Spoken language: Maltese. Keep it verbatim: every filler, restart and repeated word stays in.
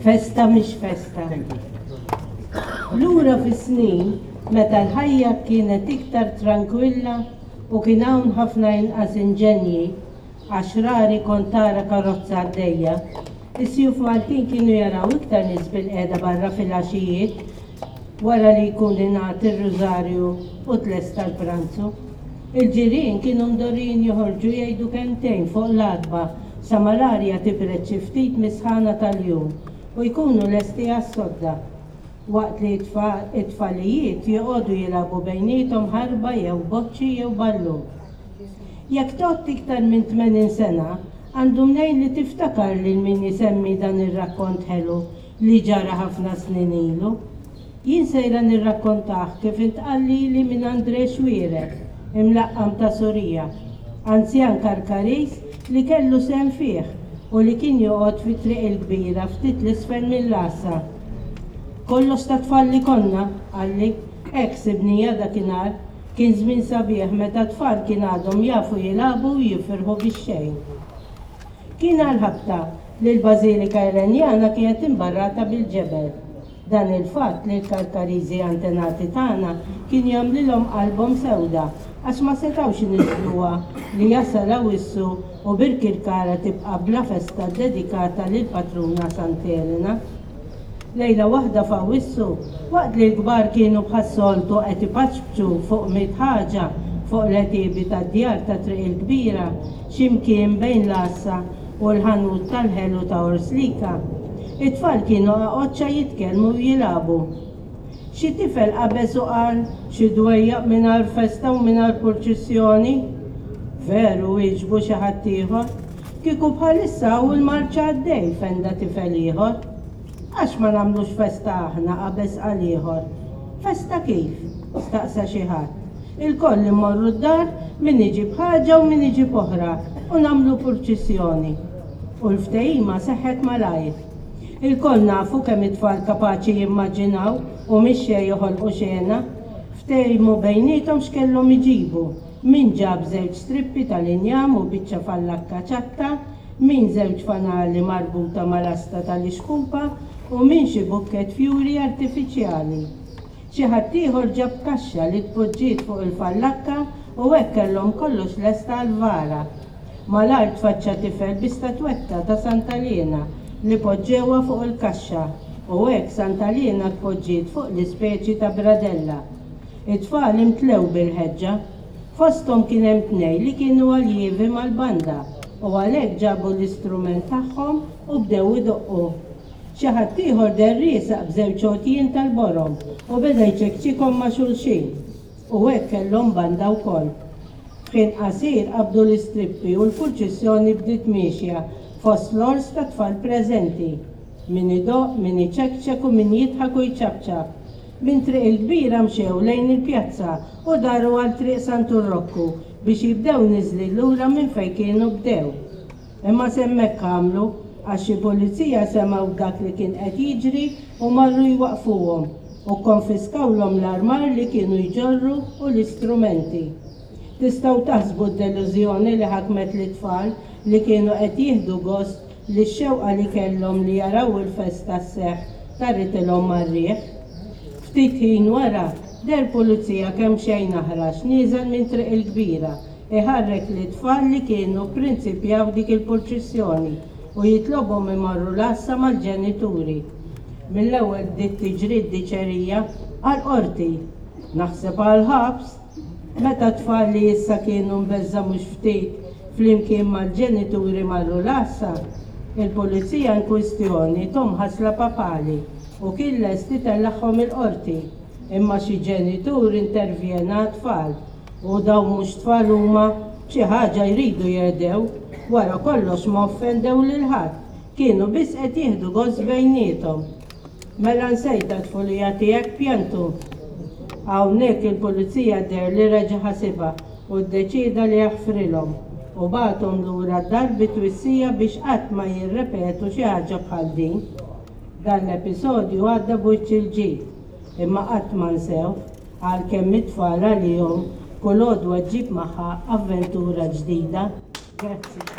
Festa mhix festa. Lura fis-snin meta l-ħajja kienet iktar trankwilla u kien hawn ħafna inqas inġenji, għax rari kont tara karozza għaddejja, is-sjuf Maltin kienu jaraw iktar nies bilqiegħda barra fil-għaxijiet wara li jkun ingħad ir-rużarju u tlesta l-pranzu. Il-ġirien kienu mdorrijin joħorġu jgħidu kelmtejn fuq l-għatba sa ma l-arja tibred xi ftit mis-sħana tal-jum u jkunu lesti għas-sodda, waqt li t-tfalijiet joqogħdu jilagħbu bejniethom ħarba jew boċċi jew ballun. Jekk tgħodd iktar minn tmenin sena, għandu mnejn li tiftakar lil min isemmi dan ir-rakkont ħelu li ġara ħafna snin ilu. Jien sejra nirrakkontah kif intqal lili minn André Xuereb, imlaqqam ta' Surija, anzjan Karkariż li kellu sehem fih u li kien joqgħod fi Triq il-Kbira ftit 'l isfel mill-għassa. "Kollox ta' tfal li konna," qalli, "hekk sibnija dakinhar, kien żmien sabiħ meta t-tfal kien għadhom jafu jilagħbu u jifirħu bix-xejn." Kien għall-ħabta li l-Bażilika Elenjana kienet imbarrata bil-ġebel. Dan il-fatt li l-Karkariżi antenati tagħna kien jagħmlilhom qalbhom sewda għax ma setgħux iniżżluha li jasal Awwissu u Birkirkara tibqa' bla festa ddedikata lill-patruna Sant'Elena. Lejla waħda f'Awwissu, waqt li l-kbar kienu bħas-soltu qed ipaċpċu fuq mitt ħaġa fuq l-għetiebi tad-djar ta' Triq il-Kbira, xi mkien bejn l-għassa u l-ħanut tal-ħelu ta' Orslika, it-tfal kienu qaqoċċa jitkellmu u jilagħbu. Xi tifel qabeż u qal, "Xi dwejjaq mingħajr festa u mingħajr purċissjoni!" "Veru," wieġbu xi ħadd ieħor. "Kieku bħalissa hawn il-marċ għaddej," fenda tifel ieħor. "Għax ma nagħmlux festa aħna?" qabeż qal ieħor. "Festa kif?" staqsa xi ħadd. "Ilkoll immorru d-dar, min iġib ħaġa u min iġib oħra, u nagħmlu purċissjoni." U l-ftehima seħħet malajr. Ilkoll nafu kemm it-tfal kapaċi jimmaġinaw u mix-xejn joħolqu xena. Ftehmu bejniethom x'kellhom iġibu. Min ġab żewġ strippi tal-injam u biċċa fallakka ċatta, min żewġ fanali marbuta mal-asta tal-ixkupa u min xi bukkett fjuri artifiċjali. Xi ħadd ieħor ġab kaxxa li tpoġġiet fuq il-fallakka u hekk kellhom kollox lesta għall-vara. Malajr tfaċċa tifel bi statwetta ta' Santa Liena li poġġewha fuq il-kaxxa u hekk Santa Liena tpoġġiet fuq l-ispeċi ta' bradella. It-tfal imtlew bil-ħeġġa. Fosthom kien hemm tnejn li kienu aljievi mal-banda u għalhekk ġabu l-istrument tagħhom u bdew idoqqu. Xi ħadd ieħor deher riesaq b'żewġ għotjien tal-borom u beda jċekċikhom ma' xulxin. U hekk kellhom banda wkoll. F'ħin qasir qabdu l-istrippi u l-purċissjoni bdiet miexja fost l-ors ta' tfal preżenti. Min idoqq, min iċekċek u min jidħak u jċapċap. Minn Triq il-Kbira mxew lejn il-pjazza u daru għal Triq Santu Rokku biex jibdew niżlin lura minn fejn kienu bdew. Imma s'hemmhekk għamlu għax xi pulizija semgħu b'dak li kien qed jiġri u marru jwaqqfuhom u kkonfiskawlhom l-armar li kienu jġorru u l-istrumenti. Tistgħu taħsbu d-delużjoni li ħakmet lit-tfal li kienu qed jieħdu gost li x-xewqa li kellhom li jaraw il-festa sseħħ taritilhom mar-riħ. Ftit ħin wara, deher pulizija kemxejn aħrax nieżel minn Triq il-Kbira, iħarrek lit-tfal li kienu pprinċipjaw dik il-purċissjoni u jitlobhom imorru l-għassa mal-ġenituri. Mill-ewwel bdiet tiġri d-diċerija għall-qorti, naħseb għall-ħabs, meta t-tfal li issa kienu mbeżża' mhux ftit flimkien mal-ġenituri marru l-għassa, il-pulizija inkwistjoni thom ħasla papali u kien lest itellagħhom il-qorti, imma xi ġenitur intervjena għat-tfal u dawn mhux tfal huma, b'xi ħaġa jridu jehdew, wara kollox ma offendew lil ħadd, kienu biss qed jieħdu gost bejniethom. Mela nsejtha t-tfulija tiegħek pjantu. Hawnhekk il-pulizija deher li reġa' ħasibha u ddeċieda li jaħfrilhom u bagħathom lura d-dar bi twissija biex qatt ma jirrepetu xi ħaġa bħal din. Dan l-episodju għadda b'wiċċ il-ġid, imma qatt ma nsewh, għalkemm it-tfal għalihom kull għodwa ġġib magħha avventura ġdida. Grazzi.